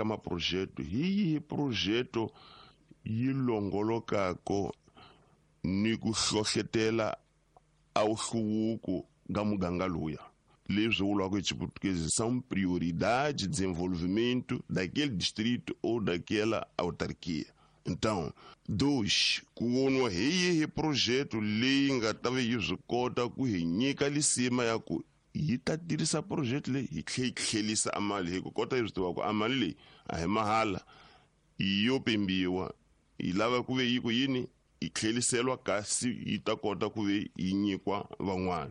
ka maprojeto, hi yihi projeto yi longolokako ni ku hlohletela a wuhluvuko ka muganga luya. Leswi vulwaka hi Xiputukezi são prioridades de desenvolvimento daquele distrito ou daquela autarquia. Então, dois, ku voniwa hi yihi projeto leyi nga ta va yi swi kota ku hi nyika lisima ya ku yi ta tirhisa projeto leyi hi tlhe yi tlhelisa a mali, hi ku kota hi swi tiva ku a mali leyi a hi mahala, yo pimbiwa, yi lava ku ve yi ku yini yi tlheliseriwa kasi yi ta kota ku ve yi nyikwa van'wana.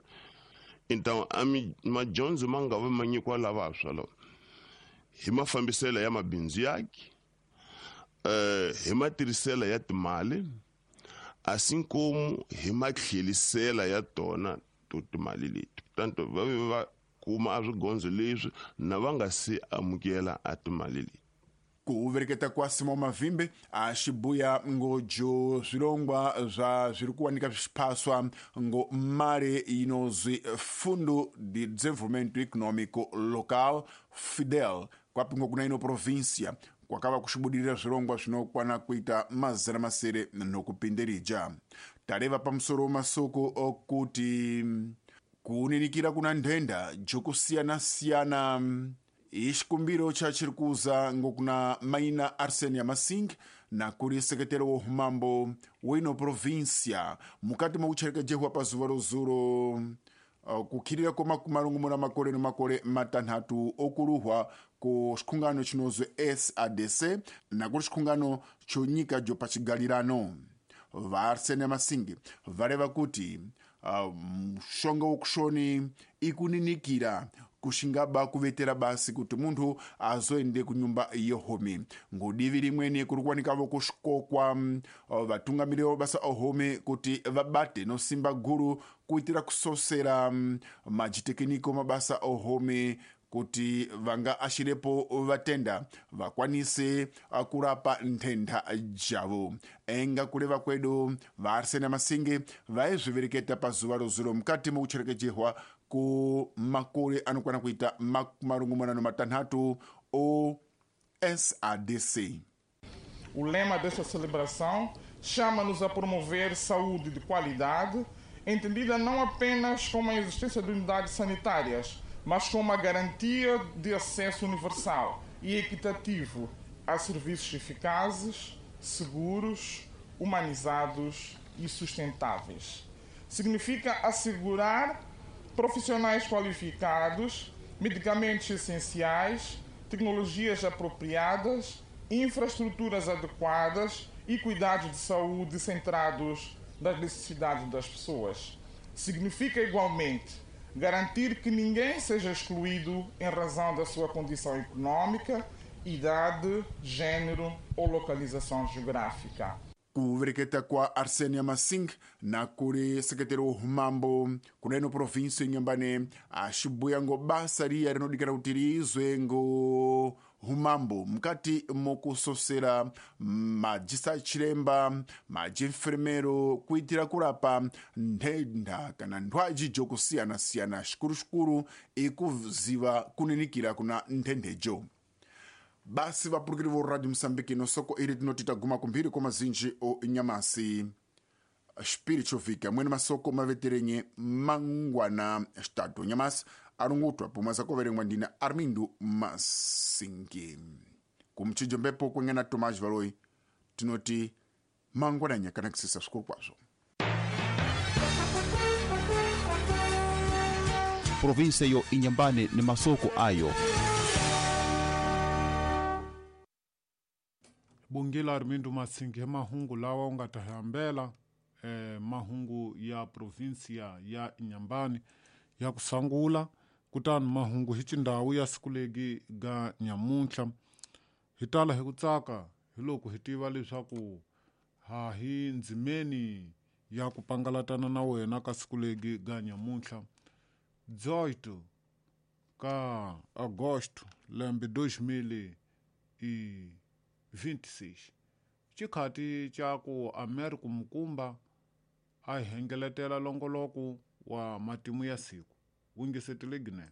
Então a madyondzo ma nga va ma nyikiwa lavantshwa lava hi mafambiselo ya mabindzu yaki, hi matirhiselo ya timali, assim como hi matlhelisela ya tona to timali leti. Portanto va ve va kuma a swigondzo leswi na va nga se amukela a timali leti. Ku vereketa kwa Simão Mavimbe a xibuya ngojo zwilongwa zwa zviri kuwanika zvichiphaswa ngo mali inozwi Fundo de Desenvolvimento Econômico Local FIDEL kwapingo kuna ino província kwakava kuxibudirira zvirongwa zvinokwana kuita 600 nokupindirija. Tareva pamusoro masoko okuti kuninikira kuna nthenda jokusiyana-siyana ixikumbiro cha chiri kuza ngokuna maina Arsenia Masing na kuri sekretero wo humambo wino província mukati mokucherekejehwa pazuva rozuro kukhirira kwa 60 makore no makore matanhatu okuluhwa ku xikhungano chinozwi SADC na kuri xikhungano cho nyika jo pachigalirano. Va Arsenia Masingi vareva kuti mushonga wokushoni ikuninikira kuxingaba kuvetera basi kuti munthu azoende kunyumba yohomi. Ngudivi rimweni kuri kuwanikavo kuxikokwa vatungamiriri va basa ohomi kuti vabate no simba guru kuitira kusosera majitekiniko mabasa ohomi kuti vanga axirepo vatenda vakwanise kurapa nthenda javo. Enga kuleva kwedu va Arsenia Masingi vaizvivereketa pazuva rozuro mukati mokucherekejehwa ku makore anokwana kuita 66 o SADC. O lema desta celebração chama-nos a promover saúde de qualidade, entendida não apenas como a existência de unidades sanitárias, mas como a garantia de acesso universal e equitativo a serviços eficazes, seguros, humanizados e sustentáveis. Significa assegurar profissionais qualificados, medicamentos essenciais, tecnologias apropriadas, infraestruturas adequadas e cuidados de saúde centrados nas necessidades das pessoas. Significa igualmente garantir que ninguém seja excluído em razão da sua condição econômica, idade, gênero ou localização geográfica. Kuvereketa kwa Arsenia Masing na kuri sekretero wo humambo kuneno província Inhambane axibuya ngo basa riya rinodikana kuti riizwe ngo humambo mukati mokusosera majisa chiremba majienfermero kuitira kurapa nthenda kana nthwaji jokusiyana-siyana xikuru-xikuru ikuziva kuninikira kuna nthendejo. Basi vapurukiri vo Radio Moçambique no soko iri tinoti taguma kumphiri kwa mazinji o nyamasi spiritual mwene masoko maveterenye mangwana estado nyamasi arungutwa pomwe zakoverengwa ndina Armindo Masingi kumchijo mbepo kwengena Tomás Valoi tinoti mangwana nyakanakisisa swikulu kwazvo. Província yo Inhambane ni masoko ayo. Bungila Armindo Masingi mahungu lawa u nga ta hambela mahungu ya província ya Inhambane ya kusangula kutani mahungu hi xindhawu ya siku legi ga nyamuntlha hi tala hi ku tsaka hi loko hi tiva leswaku ha hi ndzimeni ya ku pangalatana na wena ka siku legi ga nyamuntlha 18 ka agosto lembe 2026 xikhati xa ku Amerika Mukumba a hi hengeletela longoloko wa matimu ya siku wu ngesetele Guinea.